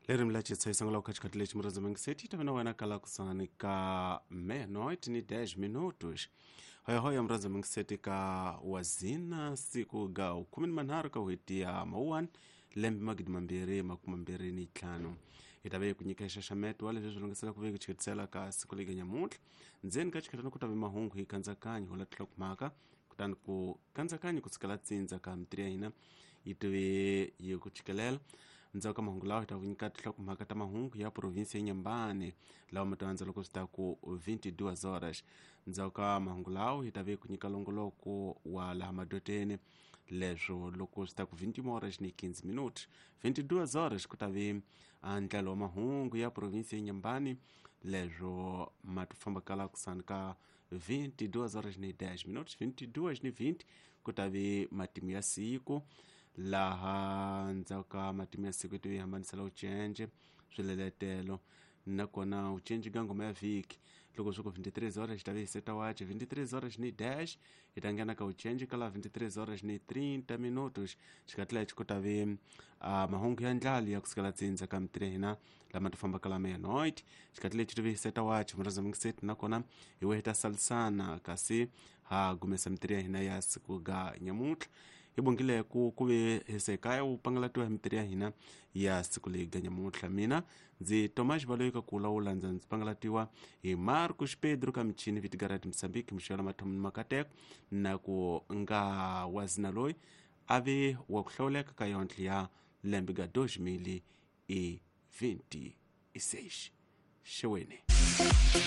Leri milache tshaisangela ku khatikati lexi murandza yi ta na wena kala kusani ka meia-noite ni 10 minutos. Hoyahoya murandza mingiseti ka wazina siku ga 13 ka n'hweti ya mawuwani lembe 2025. Hi ta ve hi ku nyika xaxameto wa leswi swi lunghisela ku ve ku chiketisela ka siku legi nyamuntlha. Ndzeni ka xikhetana ku ta ve mahungu hi kandzakanyo ho latela mhaka, kutani ku kandzakanyo ku sukela tsindza ka mitiri ya hina yi tive yi ku chikelela. Ndzhaku ka mahungu lawa hi ta ku nyika tinhlokomhaka ta mahungu ya provinsi ya Nyambane lawa ma ta loko swi ta ku 22 horas. Ndzhaku ka mahungu lawa hi ta ve ku nyika longoloko wa laha madoteni, leswo loko swi ta ku 21 horas ni 15 minutos. 22 horas ku ta ve ndlalo wa mahungu ya provinsi ya Nyambane, leswo ma ti famba kala kusani ka 22 horas ni 10 minutos. 22 ni 20 ku ta ve matimu ya siku, laha ndzhaku ka matimu ya siku yi hambanisela ucence swileletelo nakona ucence ka ngoma ya vhiki. Loko swi ku 23 horas xi ta ve hi seta wache 23 horas ni dash, hi ta nghena ka ucence ka la 23 horas ni 30 minutos. Xikati lexi ku ta ve mahungu ya ndlala ya kusukela tsindza ka mitiri ya hina lama ti fambaka la meia-noite. Xikati lexi ti ve hi seta wache murhandza mingiseti, nakona hi we hi ta salisana kasi ha gumesa mitiri ya hina ya siku ga nyamuntlha. Hi bongile ku ve hesekaya wu pangalatiwa hi mitiri ya hina ya siku leyi ga nyamuntlha. Mina ndzi Tomas Baloyi ka ku lawula, ndza ndzi pangalatiwa hi Marcos Pedro ka michini Vitigarati Mosambiki mixelo mathomo ni makateko na ku nga wazina loyi a ve wa ku hlawuleka ka yontlhe ya lembe ga 2026. Xeweni.